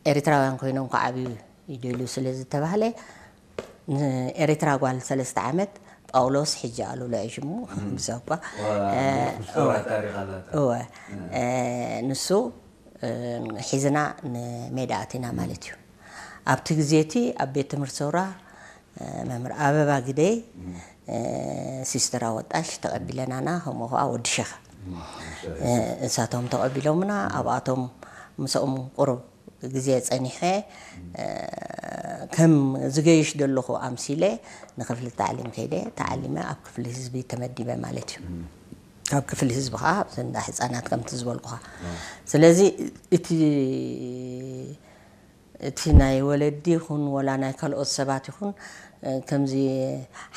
ኤርትራውያን ኮይኖም ክዓብዩ ይደልዩ ስለ ዝተባህለ፣ ንኤርትራ ጓል ሰለስተ ዓመት ጳውሎስ፣ ሕጂ ኣሉላ እዩ ሽሙ፣ ብዛኳ፣ ዋ፣ እ፣ ምኩስራ እወ። ታሪኽ ኣላታ። እወ። እ፣ ንሱ፣ እ፣ ሒዝና ንሜዳ ኣቲና ማለት እዩ። ኣብቲ ግዜ እቲ ኣብ ቤት ትምህርቲ ሰውራ፣ እ፣ መምህር ኣበባ ግደይ፣ እ፣ ሲስተር ኣወጣሽ ተቐቢለናና፣ ከምኡ ኸዓ ወዲ ሸኽ። እ፣ እሳቶም ተቐቢሎምና፣ ኣብኣቶም ምስኦም ቁሩብ ግዜ ጸኒሐ፣ እ፣ ከም ዝገይሽ ዘለኹ ኣምሲለ ንክፍሊ ታዕሊም ከይደ፣ ተዓሊመ ኣብ ክፍሊ ህዝቢ ተመዲበ ማለት እዩ። ኣብ ክፍሊ ህዝቢ ኸዓ ኣብቲ እንዳ ህጻናት ከምቲ ዝበልኩኻ። ስለዚ እቲ፣ እቲ ናይ ወለዲ ይኹን ወላ ናይ ካልኦት ሰባት ይኹን፣ እ፣ ከምዚ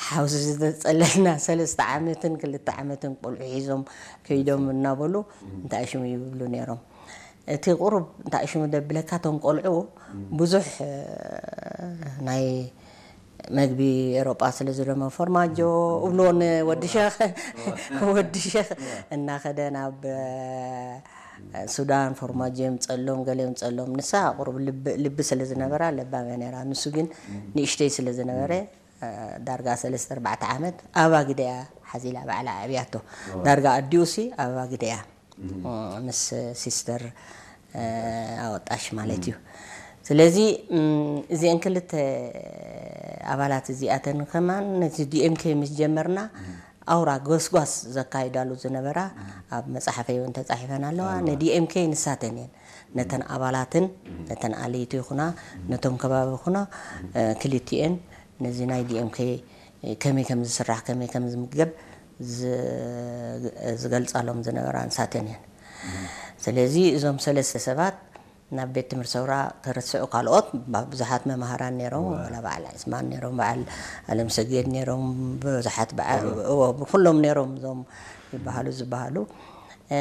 ሓውዚ ዝተጸለልና ሰለስተ ዓመትን ክልተ ዓመትን ቆልዑ ሒዞም ከይዶም እናበሉ እንታይ ሽሙ ይብሉ ነይሮም። እቲ ቁሩብ እንታይ ሽሙ ደብለካ፣ እቶም ቆልዑ ብዙሕ፣ እ፣ ናይ መግቢ ኤሮጳ ስለ ዝደመ ፎርማጆ እብልዎ ንወዲ ሸኽ፣ ወዲ ሸኽ እናኸደ ናብ፣ እ፣ ሱዳን ፎርማጆ የምጸሎም፣ ገለ የምጸሎም። ንሳ ቁሩብ ልቢ፣ ልቢ ስለ ዝነበራ ለባም እያ ነይራ። ንሱ ግን ንእሽተይ ስለ ዝነበረ፣ እ፣ ዳርጋ ሰለስተ ኣርባዕተ ዓመት ኣብ ኣግደ እያ ሓዚላ ባዕላ ኣዕብያቶ። ዳርጋ ኣዲኡሲ ኣብ ኣግደ እያ። እ፣ ምስ ሲስተር፣ እ፣ ኣወጣሽ ማለት እዩ። ስለዚ፣ እም፣ እዚአን ክልተ ኣባላት እዚኣተን ከማን ነቲ ዲ ኤም ኬ ምስ ጀመርና፣ ኣውራ ጎስጓስ ዘካይዳሉ ዝነበራ ኣብ መጽሓፈይ እውን ተጻሒፈን ኣለዋ። ን ዲ ኤም ኬ ንሳተን እየን። ነተን ኣባላትን፣ ነተን ኣለይቲ ይኹና፣ ነቶም ከባቢ ይኹና፣ እ፣ ክልቲኤን ነዚ ናይ ዲ ኤም ኬ ከመይ ከም ዝስራሕ፣ ከመይ ከም ዝምገብ ዝ-፣ ዝገልጻሎም ዝነበራ ንሳተን እየን። ስለዚ እዞም ሰለስተ ሰባት ናብ ቤት ትምህርቲ ሰውራ፣ ክርስዑ ካልኦት ባ-፣ ብዙሓት መምሃራን ነይሮም፣ ዋላ በዓል ዒስማን ነይሮም፣ በዓል ኣለምሰገድ ነይሮም፣ ብዙሓት በዓ-፣ እዎ፣ ብኩሎም ነይሮም እዞም ይበሃሉ ዝበሃሉ። እ፣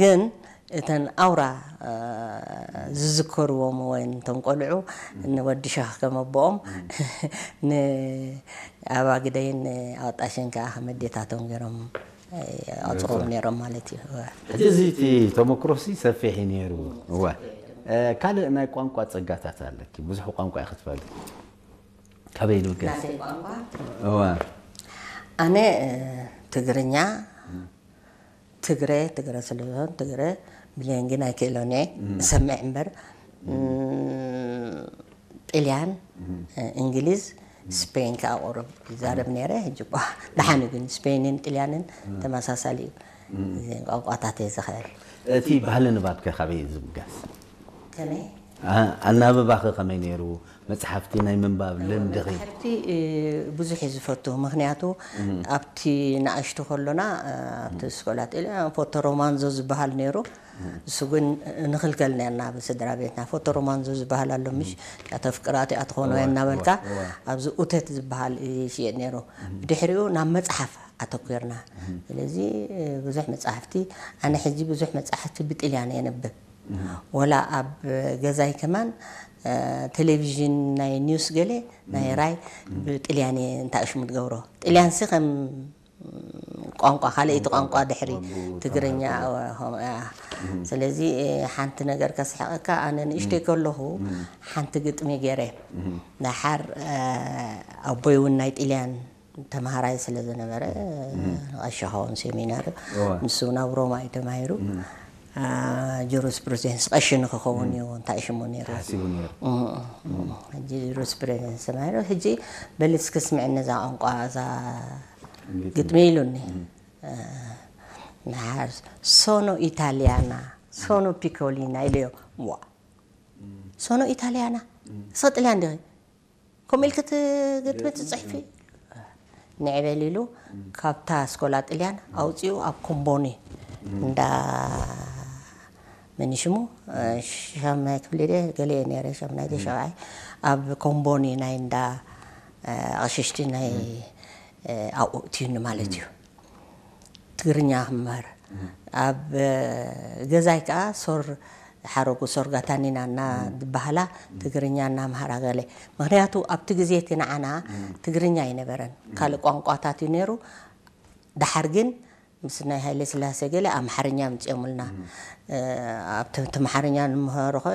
ግን እተን ኣውራ፣ እ፣ ዝዝከርዎም ወይ እቶም ቆልዑ ንወዲ ሸኽ ከም ኣቦኦም ን-፣ ኣባግደይን ኣወጣሽን ከኣ ከም ኣዴታቶም ገይሮም፣ እ፣ ኣጽርዎም ነይሮም ማለት እዩ። እወ። ሕጂ እዚ እቲ ተመክሮሲ ሰፊሕ እዩ ነይሩ። እወ። እ፣ ካልእ ናይ ቋንቋ ጸጋታት ኣለኪ። ብዙሕ ቋንቋ ኢኺ ትፈልጢ። ካበይ ንብገስ? ናተይ ቋንቋ? እወ። ኣነ፣ እ፣ ትግርኛ፣ ትግረ፣ ትግረ ስለ ዝኾን ትግረ ብሌን ግን ኣይክእሎን እየ። እም። እሰምዕ እምበር፣ እም። እም፣ ጥልያን፣ እም። እ፣ እንግሊዝ፣ እም። ስፔን ከኣ ቁሩብ ይዛረብ እም። ነይረ። ሕጂ እኳ ደሓን እዩ፣ ግን ስፔንን ጥልያንን እም። ተመሳሳሊ እዩ። እም። እዘን ቋንቋታት እየ ዝኽእል። እቲ ባህሊ ንባብ ከ ካበይ እዩ ዝብገስ? ከመይ? ኣ-፣ ኣናብባኺ ከመይ ነይሩ? መጽሓፍቲ ናይ ምንባብ ልምድኺ? መጽሓፍቲ፣ እ፣ ብዙሕ እየ ዝፈቱ። ምኽንያቱ እም። ኣብቲ ንኣሽቱ ከሎና፣ እ፣ ኣብቲ እም። ስኮላ ጥልያ ፎቶ ሮማንዞ ዝበሃል ነይሩ። እም። እሱ ግን ንኽልከል ነርና ብስድራ ቤትና። ፎቶ ሮማንዞ ዝበሃል ኣሎ፣ ምሽ? እም። እታ ፍቅራቲ ኣትኾኖ እወ፣ እናበልካ እወ፣ እወ። ኣብዚ ኡተት ዝበሃል ይሽየጥ ነይሩ። እም። ብድሕሪኡ ናብ መጽሓፍ ኣተኲርና። እም። ስለዚ፣ እ፣ ብዙሕ መጽሓፍቲ፣ ኣነ ሕጂ ብዙሕ መጽሓፍቲ ብጥልያን እየ ነብብ። እም። ወላ ኣብ ገዛይ ከማን፣ እ፣ ቴሌቪዥን ናይ ኒውስ ገለ ናይ እም። ራይ እም። ብጥልያን እየ እንታእሽሙ ትገብሮ። ጥልያንሲ ከም ቋንቋ፣ ካልኣይቲ ቋንቋ ቋንቋ ድሕሪ ወንቡ ትግርኛ፣ ተማሃርኩ። እ፣ ሆ-፣ እ። እም። ስለዚ፣ እ፣ ሓንቲ ነገር ከስሕቐካ፣ ኣነ ንእሽተይ እም። ከለኹ እም። ሓንቲ ግጥሚ ገይረ። እም። ደሓር፣ እ፣ ኣቦይ እውን ናይ ጥልያን ተምሃራይ ስለ ዝነበረ፣ እም። ቀሺ ኸውን ሴሚናሪ፣ እወ። ንሱ እውን ኣብ ሮማ እዩ ተማሂሩ። እም። አ፣ ጁሪስፕሩደንስ ቀሺ ንክኸውን እም። እዩ፣ እንታይ ሽሙ ነይሩ? ተሓሲቡ ነይሩ። እም፣ እም። እም። ሕጂ ጁሪስፕሩደንስ ተማሂሩ፣ ሕጂ በል እስኪ ስምዕኒ እዛ ቋንቋ፣ እዛ ግጥሚ። ግጥሚ ኢሉኒ። እም። አ፣ ንሓር፣ ሶኖ ኢታሊያና፣ ሶኖ ፒኮሊና ኢለዮ። ዋ። እም። ሶኖ ኢታሊያና? እም። እስኺ ጥልያን ዲኺ? ከምኡ ኢልኪ ትግጥሚ ትጽሕፊ? ንዕበል ኢሉ እም። ካብታ ስኮላ ጥልያን እም። ኣውጺኡ ኣብ ኮምቦኒ እም። እንዳ መን ሽሙ? እ፣ ሻምናይ ክፍሊ ድየ? ገለ እየ ነይረ፣ ሻምናይ ድየ? እም። ሻብዓይ። ኣብ ኮምቦኒ ናይ እንዳ፣ እ፣ ኣቕሽሽቲ ናይ፣ እም። እ፣ ኣብኡ እትዩኒ ማለት እም። እዩ። ትግርኛ ክመሃር። እም። ኣብ፣ እ፣ ገዛይ ከኣ ሶር ሓረጉ፣ ሶር ጋታኒና እና እም። ዝበሃላ እም። ትግርኛ እናምሃራ ገለ። ምኽንያቱ ኣብቲ ግዜ እቲ ንዓና እም። ትግርኛ ኣይነበረን። እም። ካልእ ቋንቋታት እዩ ነይሩ። ደሓር ግን ምስ ናይ ሃይለ ስላሴ ገለ ኣምሓርኛ ኣምጺኦምልና። እም። እ፣ ኣብቲ፣ እቲ ኣምሓርኛ ንምሃሮ ኸ